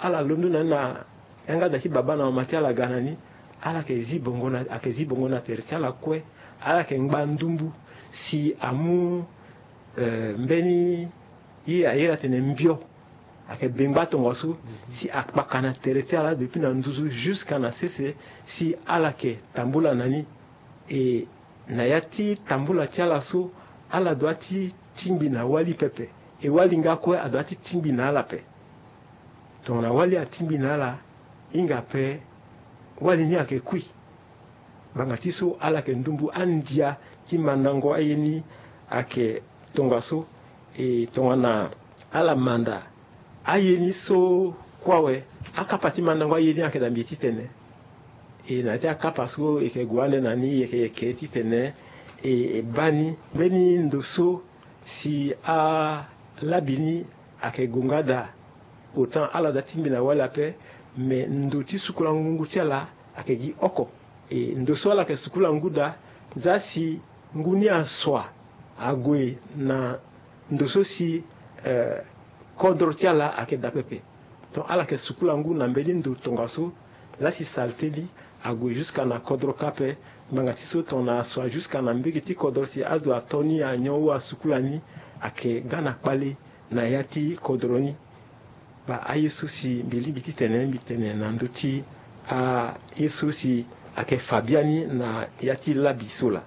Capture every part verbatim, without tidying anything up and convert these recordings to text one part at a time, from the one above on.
ala londo na ni na yanga da ti baba na mama ti ala ga na ni. Ala yeke zi bongo na, ayeke zi bongo na tere ti ala kue. Ala yeke ngba ndumbu si amu, eh, mbeni ye airi atene mbio. Ayeke bengba tongaso si akpaka na tere ti ala depuis na nduzu jusqu'à na sese, si ala yeke tambula na ni. E na ya ti tambula ti ala so, ala doit ti tingbi na wali pepe. E wali nga kue adoit ti tingbi na ala ape. Tongana wali atingbi na ala, hinga ape wali ni ayeke kui. Ngbanga ti so ala yeke ndumbu andia ti mandango aye ni ayeke tongaso. E tongana ala manda aye ni so kue awe, akapa ti mandango aye ni ayeke da mbi titene. E na ya ti akapa so e yeke gue ande na ni, e yeke, e yeke titene e, e baa ni mbeni ndo so si alabi ni ayeke gue nga da. Autant ala da tingbi na wali ape, me ndo ti sukula ngungu ti ala ayeke gi oko. E ndo so ala yeke sukula ngu da, za si ngu ni asua ague na ndo so si, eh, kodro ti ala ayeke da pepe. Donc ala yeke sukula ngu na mbeni ndo tongaso, za si salteli ague jusqu'à na kodro kâ ape. Ngbanga ti so tongana asua jusqu'à na mbege ti kodro si azo ato ni anyon ou asukula ni, ayeke ga na kpale na ya ti kodro ni. Baa aye so si mbi lingbi titene mbi tene na ndö ti aye so si ayeke fa biani na ya ti labi so laa.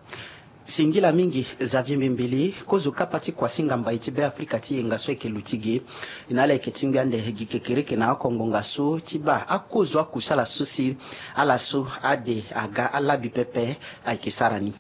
Singila mingi Xavier Mbembele, kozo kapa ti kuasinga mbai ti Beafrika ti yenga so ayeke luti ge. E na ala yeke tingbi ande gi kekereke na oko ngonga so ti baa akozo akusala so si ala so ade aga alabi pepe ayeke sara ni.